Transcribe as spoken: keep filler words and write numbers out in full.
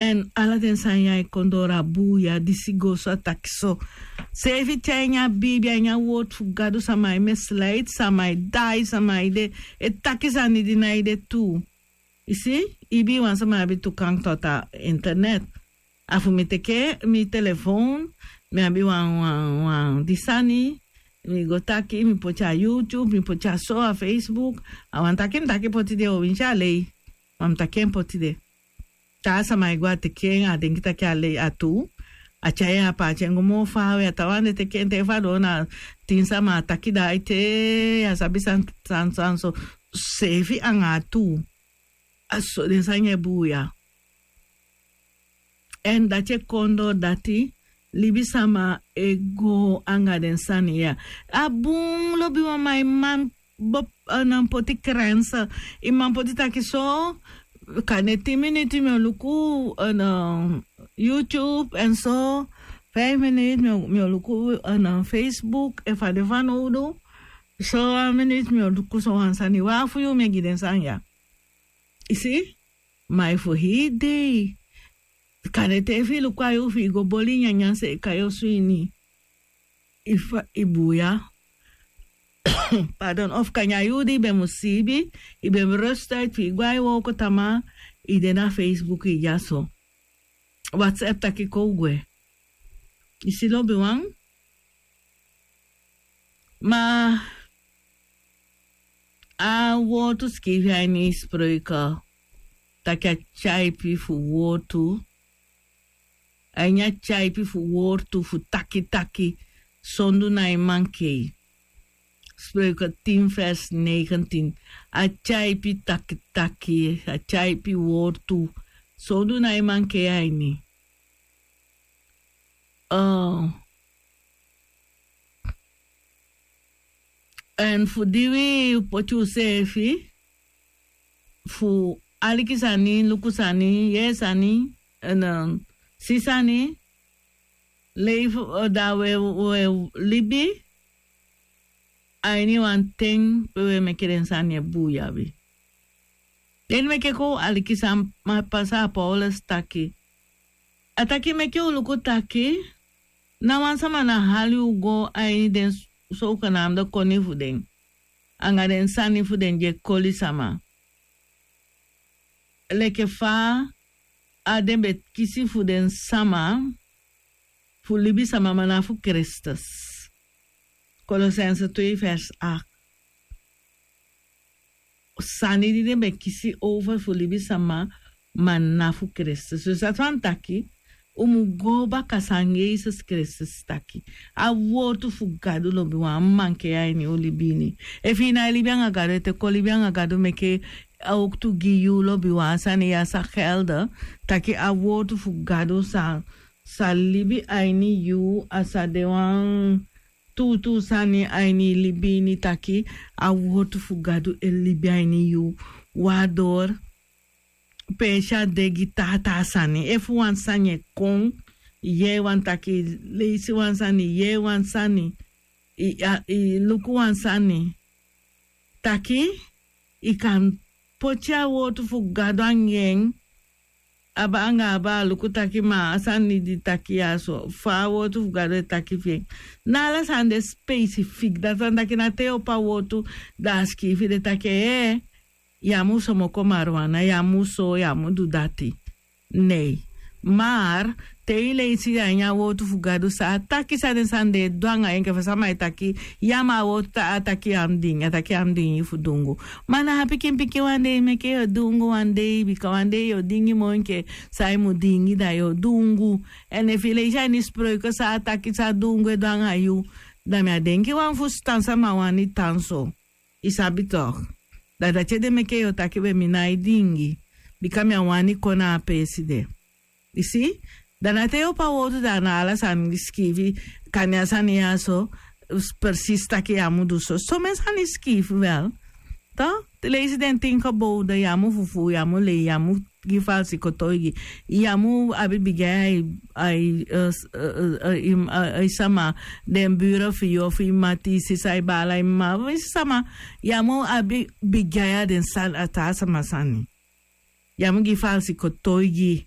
Èn ala den sani ya e kon doro a buuya disi go so a taki so. Seefi te a ini a biibi a ini a wortu fu gadu sama e mesleiti sama e dai sama e de e taki sani di nái de tuu. I si? Ibii wan sama abi tu kank toti a internet. A fu mi teke mi telefon, mi abi wan wan wan di sani, mi go taki mi poti a youtube mi poti a so a facebook. A wan taki mi taki poti de o winsi a lei. Ma mi taki en poti de. Taa sama e go a teke en a denki taki a lei a tuu. A tyai en a paati en go moo faawe a tawan de teke en te efu a doo na tin sama a taki da aite. A sabi san san san so seefi anga a tuu. A so den sani e buuya. Èn dati e kon doo dati libisama e go anga den sani ya. A bun lobiwan ma i man bo nan poti krense. I man poti taki so kande tin minutu mi o luku na youtube èn so faifi minutu mi o luku na facebook efu a de fanowdu. So wan minutu mi o luku so wan sani wan fu yu mi e gi den sani ya. I si? Ma efu hii dei kande te efu i luku a yuu fi i go boli nyanyan seeka yu osu ini. I fa i buuya. Pardon ofu kande a yuu di i be mu siibi i be mu restuit fi i go a i wooko tamaa. I de na facebook i dyaso. Whatsapp taki kon u gwe. I si lobiwan. Ma a wortu sikiifi a ini spreuke taki a tyaipi fu wortu. A ini a tyaipi fu wortu fu taki taki sondu na e mankei. Spreuke tin vers negentin. A tyaipi taki taki a tyaipi wortu sondu na e mankei a ini. Èn fu di wi poti useefi fu aliki sani luku sani yee sani èn si sani lei fu da we we libi a ini wan ten pe we meke den sani e buuya wi. Den meke kon u aliki san ma pasa a paulus taki. A taki meke u luku taki na wan sama na hali u go a ini den sogenamde koni fu den anga den sani fu den di e koli sama. Leke fa a den be kisi fu den sama fu libisama ma na fu kristus. Kolosense twee vers acht. Sani di den be kisi over fu libisama ma na fu kristus dus dati wani taki u mu go baka san yesus kristus taki. A wortu fu gadu lobi wan a mu mankei a ini u libi ini. Efu i nái libi anga gadu ete kon libi anga gadu meke a oktu gi yu lobi wan a sani ya sa gelde taki a wortu fu gadu sa sa libi a ini yu a sa de wan tuutuu sani a ini i libi ini taki a wortu fu gadu e libi a ini yu. Wan a dori pe esi a de gi taa taa sani efu wan sani e kon i yee wan taki i leisi wan sani i yee wan sani i luku wan sani taki i kan poti a wortu fu gadu anga en. Aba anga aba a luku taki ma a sani di taki ya so fa a wortu fu gadu e taki fi en. Na ala sani de spesifik dati wani taki na te yu opo a wortu da a sikiifi de taki ee yu á mu somoko mariwana yu á mu so yu á mu du dati. Nei. Mar te yu leisi a ini a wortu fu gadu san a taki san den sani den e du anga yu enke fa sama e taki ya ma a wortu a taki yu á mu dingi a taki yu á mu dingi fu dungu. Ma na a pikinpikin wan dei meke yu o dungu wan dei bika wan dei yu o dingi moo enke san yu mu dingi da yu o dungu. Èn efu yu leisi a ini spreuke san a taki san dungu e du anga yu da mi á denki wan fusutan sama wani tan so. I sabi tok'? Da dati ede meke yu o taki we mi nái dingi bika mi á wani kon na a peesi de. I si? Da na te yu opo a wortu da na ala sani sikiifi. Kande a sani ya so presisi taki yu á mu du so somen sani sikiifi wel. Te leisi den tin gebowde yu á mu fufuu yu á mu lei yu á mu gi falsi kotoigi. Yu á mu abi bigi ai ai ai sama den buro fu yu ofu i mati i sisa i baala i mama fu i sisa ma. Yu á mu abi bigi ai a den sani a taa sama sani. Yu á mu gi falsi kotoigi.